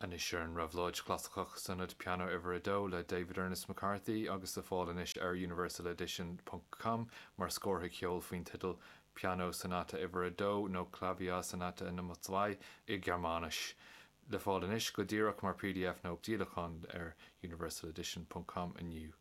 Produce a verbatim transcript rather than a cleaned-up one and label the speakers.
Speaker 1: Anois ar an Réabhlóid Chlasaiceach Sonata Pianó uimhir a dó le David Ernest McCarthy agus le fáil anois ar universaledition.com mar scórtha ceoil faoin teideal Piano Sonata uimhir a dó nó Klaviersonate Nummer zwei i Gearmáinis. Le fáil anois go díreach mar PDF nó díolachán ar universaledition.com inniu.